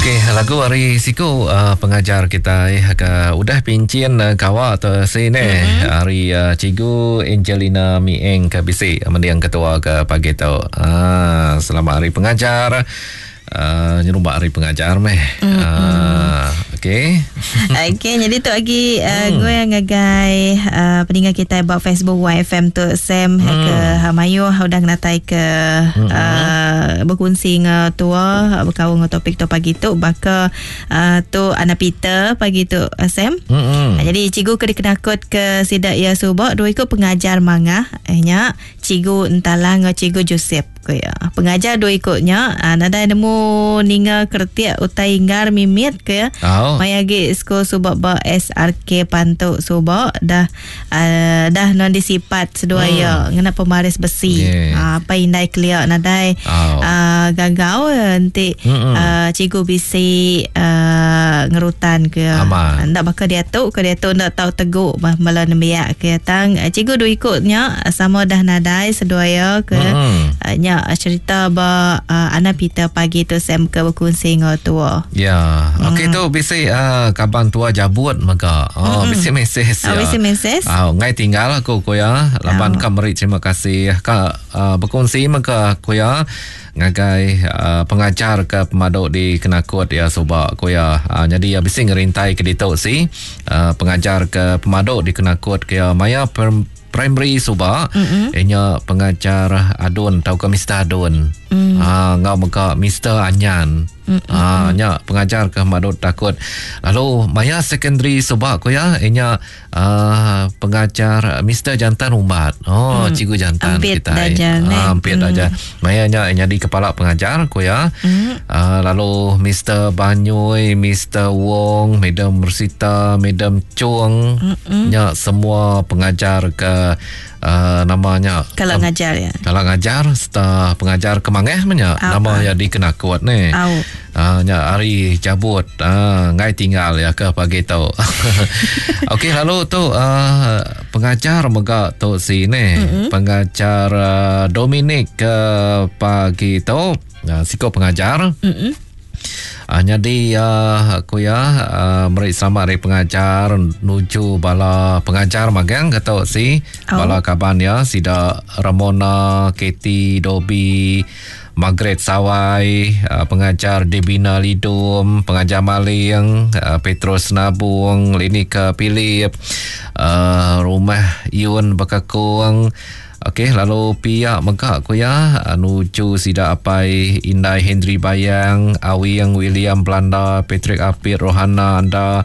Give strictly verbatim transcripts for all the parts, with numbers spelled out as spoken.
Okey, lagu ari siku uh, pengajar kita eh, ke udah pincin uh, kawa tu sini mm-hmm. Hari uh, Cikgu Angelina Mieng ke bisi mendiang ketua ke pagi tu. Uh, selamat hari pengajar. Uh, nyerumbak hari pengajar meh. Mm-hmm. Uh, okey. Okey, jadi tu lagi uh, hmm. gue ngagai uh, peninggal kita ba Facebook Y F M tu Sam hmm. ke Hamayu udah ngatai ke hmm. uh, berkongsi dengan tua berkawan dengan topik tu pagi tu baka uh, tu Ana Peter pagi tu uh, Sam. Hmm. Uh, jadi cikgu ke dikenakut ke sidak ya subak dua ikut pengajar mangah eh nya cikgu Entalang dengan cikgu Joseph ke ya. Pengajar dua ikutnya uh, nadai nemu ninga kertiak utai inggar mimit ke ya. Oh. Maya gi skol subak ba S R K Pantuk subak dah uh, dah non disipat seduai hmm. ya ngena pemaris besi. Yeah. Uh, apa indai keliak nadai oh. uh, gagau nanti uh, cikgu bisi uh, ngerutan ke. Ndak bakal dia tu ke dia tu ndak tahu teguk bala nembiak ke tang cikgu dua ikutnya sama dah nadai seduai ya ke hmm. uh, nya cerita ba uh, Ana Peter pagi tu Sam ke berkongsi dengan tua. Ya. Okey hmm. tu bisi uh, kaban tua jabut mega. Oh hmm. bisi mesej ya. Oh, bisi mesej. Ah uh, ngai tinggal aku ko ya. Laban oh. ka meri terima kasih ka uh, berkongsi mega ko ya ngagai uh, pengajar ke pemaduk di Kenakut ya subak ko ya. Uh, jadi ya bisi ngerintai ke ditu si uh, pengajar ke pemaduk di Kenakut ke ya maya per primary subak mm-hmm. Inya pengajar Adun tau ke Mister Adun. Mm. Ah ngau mega Mister Anyan. Mm-hmm. Ah nya pengajar ke madut takut. Lalu maya secondary subak ko ya inya uh, pengajar Mister Jantan Umbat. Oh mm. cikgu jantan ampit kita. Ah, ampit mm. aja. Maya nya inya di kepala pengajar ko ya. Mm. Uh, lalu Mister Banyui, Mister Wong, Madam Mersita, Madam Chung. Mm-hmm. Nya semua pengajar ke Uh, namanya kalau um, ngajar ya. Kalau ngajar serta pengajar kemangeh menya nama ya di Kenakut ni. Au. Uh, nya hari cabut uh, ngai tinggal ya ke pagi tu. Okey lalu tu uh, pengajar mega tu sini mm-hmm. Pengajar uh, Dominic ke pagi tu uh, siko pengajar. Mm-hmm. Uh, jadi uh, aku ya uh, meri selamat hari pengajar nuju bala pengajar magang kata si oh. bala kaban ya sida Ramona, Katie, Dobby, Margaret Sawai, uh, pengajar Debina Lidum, pengajar Maling, uh, Petrus Nabung, Linika Philip, uh, Rumah Yun Bekakung. Okey, lalu pihak megak ku ya nuju sida apai Indai Henry Bayang, Awing William Belanda, Patrick Apit, Rohana anda,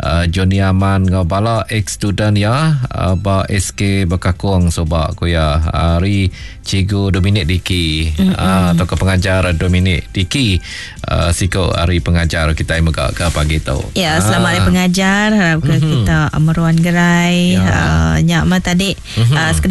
uh, Johnny Aman ngau bala ex student ya uh, ba S K Bekakung sobak ku ya hari cikgu Dominic Diki mm-hmm. uh, atau ke pengajar Dominic Diki uh, siko hari pengajar kita megak ke pagi tu. Ya, selamat hari pengajar harap ke mm-hmm. kita meruan gerai ya. Uh, nyak ma tadi mm-hmm. uh,